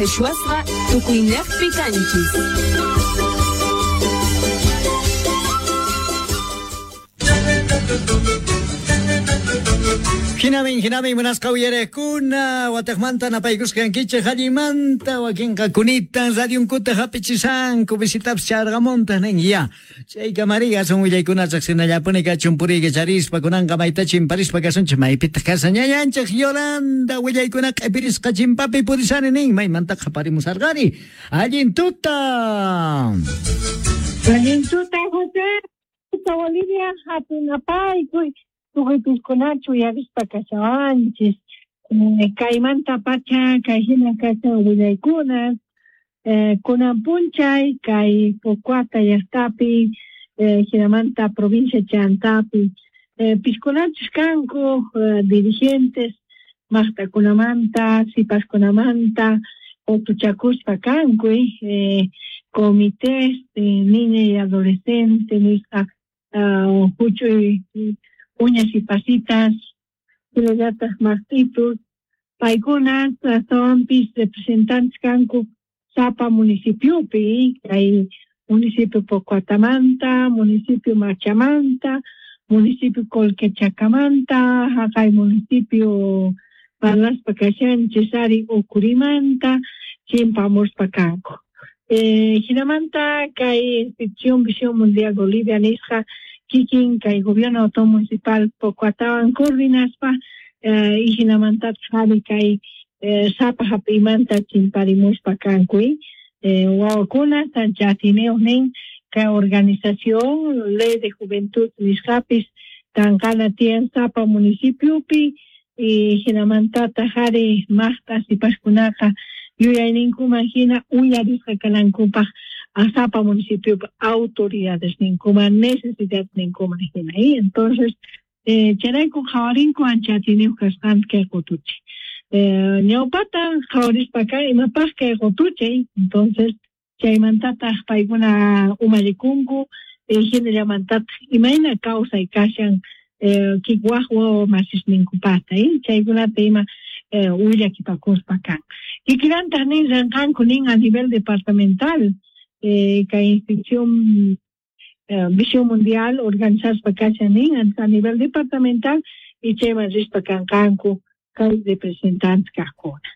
Qhichwasqa tukuynejpi kanchis. Jinamin, jinamin, munasqa uyarejkuna, watejmanta napaykusqankichej allinmanta, wakinqa kunitan radionkuta jap'ichisanku, visitapis charqamuntaj nin, ya. Chayka María, asun willaykuna chaqsinallapuni kachun puriyka charispa, kunanqa mayta chimparispa kasunchej, maypitaq kashan ñañanchej Yolanda, willaykuna q'epirisqa chimpapi purisani nin, maymanta qhaparimusarqani. Allin tuta. Allin tuta, José. Tuta Bolivia, hatunapaykuy. Tukuypiskunachu uyarispa kashawanchis. Kaymanta pacha, kay hina kashan willaykuna. Kunan punchay, kay Pocoata llaqtapi, hinamanta provincia Chantapi, piskunachus kanku dirigentes maqtakunamanta, sipaskunamanta, qotuchakuspa kanku, comités de niña y adolescente nisqa huch'uy uñas y pasitas, hinallataq maqtitus, paykuna astawanpis representantes kanku sapa municipiopi, kay municipio Pocoatamanta, municipio Machamanta, municipio Colquechacamanta, haqay municipio parlaspa kashanchis ari Ucurimanta, chimpamuspa kanku. Hinamanta kay institución Visión Mundial Bolivia nisqa kikin kay gobierno autónomo municipal Pocoatawan coordinaspa y hinamanta ari kay sapa hap'imanta chimparimuspa kanku. Wawakuna sanchatiniyuq nin kay organización Ley de Juventud nisqapis tanqana tiyan sapa municipiopi y hinamantataq ari maqta sipaskunaqa yuyayninkuman hina uyarisqa kanankupaq sapa municipiopi autoridades ninkuman necesidades ninkuman hina. Y entonces chayrayku qhawarinku ancha atiniyuq kasqanta kay qutuchay. Ñawpata qhawarispa kan imapaq kay qutuchay, entonces chaymantataq paykuna umallikunku hinallamantataq imayna kawsay kashan waq wawa masisninkupata, chaykunata ima willakipakuspa kan. Kikillantaq nin rinqanku nin a nivel departamental kay institución Visión Mundial organizaspa kashan nin a nivel departamental y chayman rispa kanqanku kay representantes kaqkuna.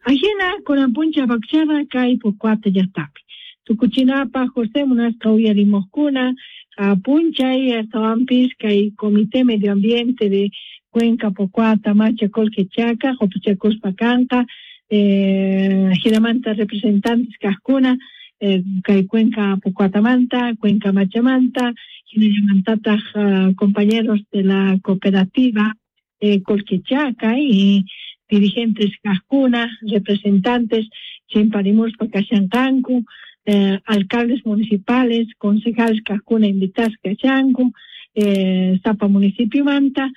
Ajina kunan puncha bakchara kay Pocoata llaqtapi. Tukuchinapaq José munasqa uyarimuqkuna punchay astawanpis kay Comité Medio Ambiente de Cuenca Pocoata Macha Colquechaca qutuchakuspa kanqa hinamanta representantes kaqkuna kay Cuenca Pocoatamanta, Cuenca Machamanta, hinallamantataq compañeros de la cooperativa Colquechaca y dirigentes kaqkuna, representantes chimparimuspa kashanqanku, alcaldes municipales, concejales kaqkuna invitasqa kashanku, sapa municipiomanta,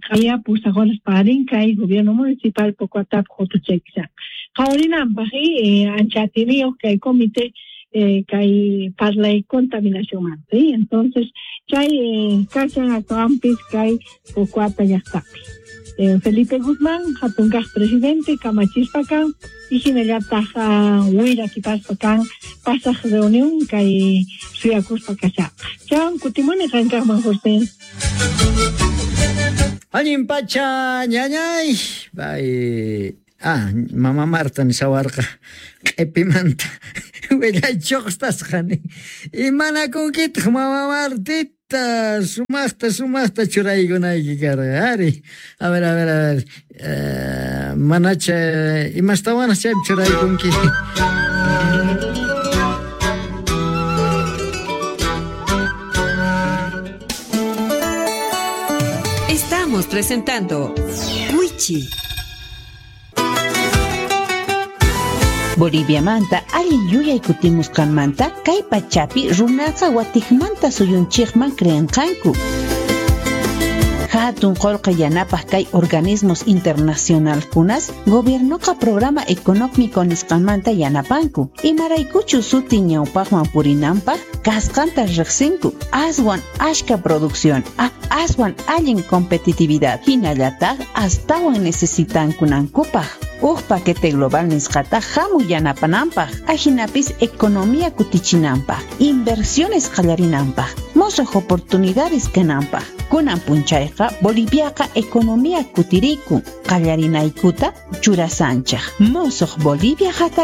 qaya pusaq horas parin kay gobierno municipal Pocoatap qutuchaykisan. Qhawarinanpaq ancha atiniyuq kay comité kay parlay contaminacionmanta. Entonces chay kashan astawanpis kay Pocoata llaqtapi. Felipe Guzmán, hatunkaq presidente, kamachispa kan, y hinallataq willakipaspa kan, pasaq reunión kay suyakuspa kashaqa. Chan kutimuni qankaqman, José. Allin pacha, ñañay. Bay. Ah, mama Marta nishawarqa q'ipimanta willaychuqtasqa Imanakunkitaq mama Martita, sumaqta sumaqta churaykunayki karqa ari. A ver, a ver, a ver. Manacha imastawanaq chaypi churaykunki. Estamos presentando Wichi. Boliviamanta allin yuyay kutimusqanmanta kay pachapi runaqa watiqmanta suyunchikman creenqanku. Hatun qullqi yanapaq kay organismos internacionalkunas gobiernoqa programa económico nisqanmanta yanapanku. Imaraykuchu suti ñawpaqman purinanpaq kasqanta riqsinku. Aswan ashka producción, aswan allin competitividad hinallataq astawan necesitankunankupaq. Uj paquete global nisqata jamu yanapananpaj, ajinapis economía kutichinanpaj, inversiones qallarinanpaj, mosoj oportunidades kananpaj. Kunan punchayqa Boliviaqa economía kutirikun, qallarinaykuta churasanchej. Mosoj Bolivia.